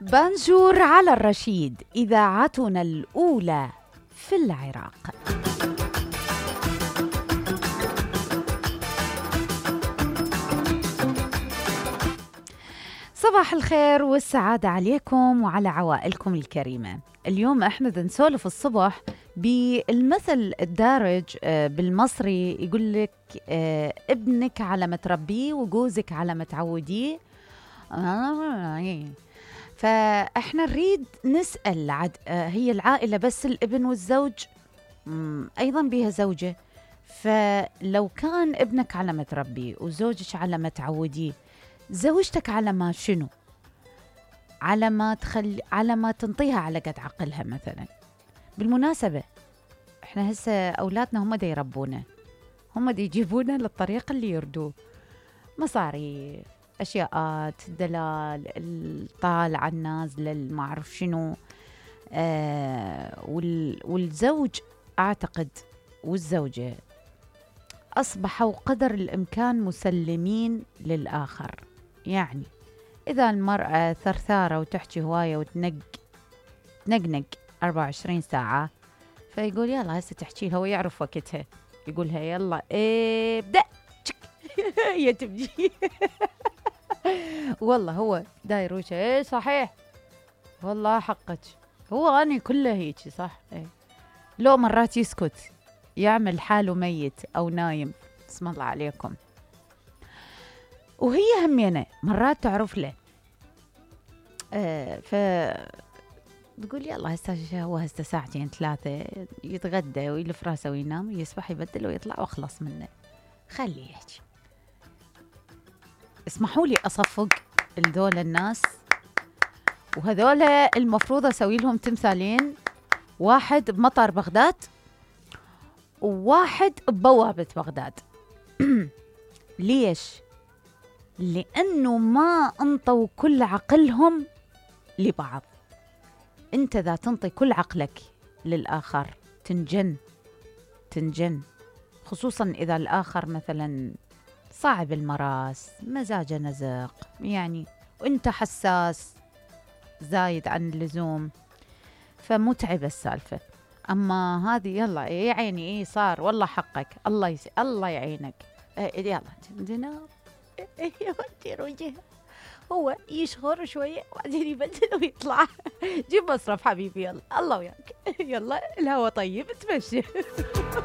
بانجور على الرشيد، إذاعتنا الأولى في العراق. صباح الخير والسعادة عليكم وعلى عوائلكم الكريمة. اليوم احنا نسولف الصبح بالمثل الدارج بالمصري، يقول لك ابنك على ما تربيه وجوزك على ما تعوديه. فاحنا نريد نسأل هي العائلة بس الابن والزوج؟ ايضا بها زوجة. فلو كان ابنك على ما تربيه وزوجك على ما تعوديه، زوجتك على ما شنو؟ على ما تنطيها على قد عقلها مثلا. بالمناسبة احنا هسه اولادنا هم دا يربونا، هم دا يجيبونا للطريق اللي يردوه، مصاريف، اشياءات، دلال، الطالعة النازلة، ما اعرف شنو. والزوج اعتقد والزوجة اصبحوا قدر الامكان مسلمين للاخر. يعني إذا المرأة ثرثارة وتحكي هواية وتنقنق 24 ساعة، فيقول يلا هسه تحكي لها ويعرف وقتها، يقولها يلا ابدأ هي تبدي. والله هو داير وجهه صحيح، والله حقك، هو أنا كله هيك صح. لو مرات يسكت يعمل حاله ميت أو نايم، بسم الله عليكم. وهي همينة مرات تعرف له، تقول يلا هو هسه ساعتين ثلاثة يتغدى ويلف راسه وينام ويسبح يبدل ويطلع واخلص منه، خليه يحكي. اسمحوا لي أصفق لذول الناس، وهذول المفروض أسوي لهم تمثالين، واحد بمطار بغداد وواحد ببوابة بغداد. ليش؟ لأنه ما انطوا كل عقلهم لبعض. انت ذا تنطي كل عقلك للآخر تنجن، خصوصا إذا الآخر مثلا صعب المراس، مزاجه نزق يعني، وانت حساس زايد عن اللزوم، فمتعب السالفة. أما هذه يلا يا عيني صار والله حقك، الله يعينك، يلا تنام. يودي وجهه، هو يشخر شوية وبعدين يبدل ويطلع. جيب مصرف حبيبي، يلا الله وياك، يلا الهوا طيب تمشي.